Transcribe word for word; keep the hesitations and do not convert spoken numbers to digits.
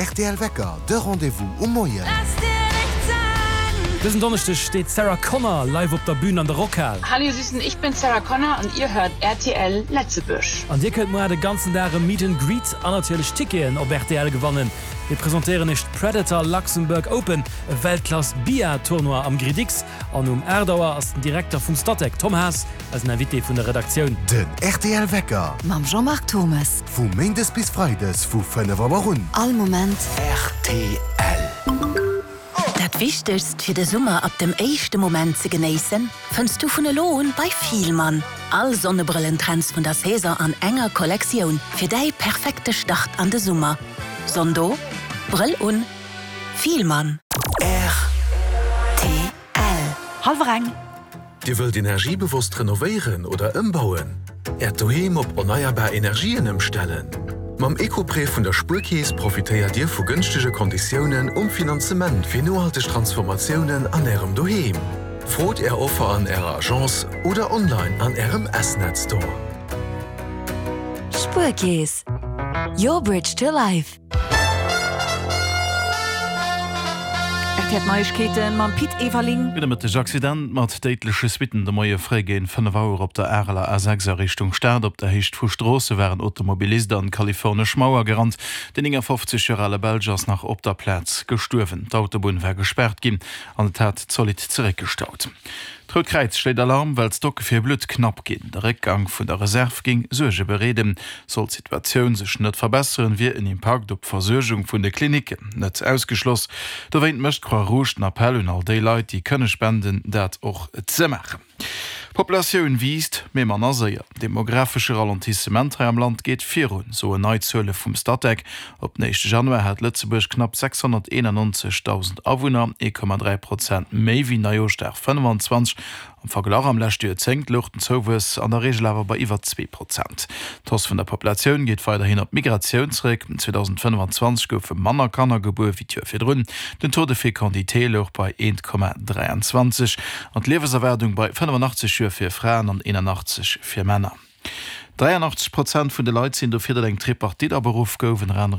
R T L Wecker, de Rendez-vous um Moien. Dësen Donneschdeg steet d'Sarah Connor live op der Bün an der Rockhal. Hallo ihr Süßen, ich bin Sarah Connor und ihr hört R T L Lëtzebuerg. An dir kënnt muer de ganzen Dag e Meet and Greet an natierlech Ticketen op R T L gewannen. Mir presentéieren iech d'Predator Luxembourg Open, e Weltklass Billard-Tournoi am GridX. An um aacht Auer ass den Direkter vum Statec, Tom Haas, eisen Invité vun der Redaktioun. Den R T L Wecker Mam Jean-Marc Thomas. Vu Méindes bis Freides vu fënnef Auer un. All Moment. R T L. Dat Wichtegst fir de Summer ab dem éischte Moment ze genéissen, fënns du vun elo un bei Fielmann. All Sonnebrëllentrends vun der Saison an enger Kollektioun fir däi perfekte Start an de Summer. Sonn do, Brëll un, Fielmann. R T L. Hallwer eng. Dir wëllt energiebewosst renovéieren oder ëmbauen? Äert Doheem op erneierbar Energien ëmstellen? Mam Ecoprêt vun der Spuerkeess profitéiert Dir vu gënschtege Konditiounen um Finanzement fir nohalteg Transformatiounen an Ärem Doheem. Frot Är Offer an Ärer Agence oder online an Ärem S-Net Store. Spuerkeess. Your bridge to life. R T L Neiegkeeten mam Pit Everling. Gudde Mëtteg. Accident mat déidleche Suitten de Moie fréi géint fënnef Auer op der Areler A sechs a Richtung Stad. Op der Héicht vu Stroosse war en Automobilist an d'kalifornesch Mauer gerannt. Den néngafofzeg Joer ale Belsch ass nach op der Plaz gestuerwen. D'Autobunn war gespaart ginn an et hat zolidd zeréckgestaut. D'Rout Kräiz schléit Alarm, well d'Stocke fir Blutt knapp ginn. De Réckgang vun der Reserv géing Suerge bereeden. Sollt d'Situatioun sech net verbesseren, wier en Impakt op d'Versuergung vun de Klinicken net ausgeschloss. Dowéint mécht d'Croix-Rouge den Appell un all déi Leit, déi kënne spenden, dat och ze maachen. D'Populatioun wiisst, mee manner séier. Demografesche Ralentissement hei am Land geet virun, soen nei Zuele vum Statec. Op den éischte Januar hat Lëtzebuerg knapp sechshonnerteenannonzegdausend Awunner, ee Komma dräi Prozent méi wéi Neijooschdag fënnefenzwanzeg. Am Verglach, am leschte Joerzéngt louch den Zouwuess an der Reegel awer bei iwwer zwee Prozent. D'Hausse vun der Populatioun geet weiderhin op d'Migratioun zeréck. zweedausendfënnefenzwanzeg goufe manner Kanner gebuer wéi d'Joer virdrun. Den Taux de fécondité louch bei eent Komma dräianzwanzeg an d'Liewenserwaardung bei fënnefenachtzeg Joer fir Fraen an eenanachtzeg fir Männer. dräianachtzeg Prozent vun de Leit sinn dofir, datt eng Tripartite aberuff gouf, ënner anerem.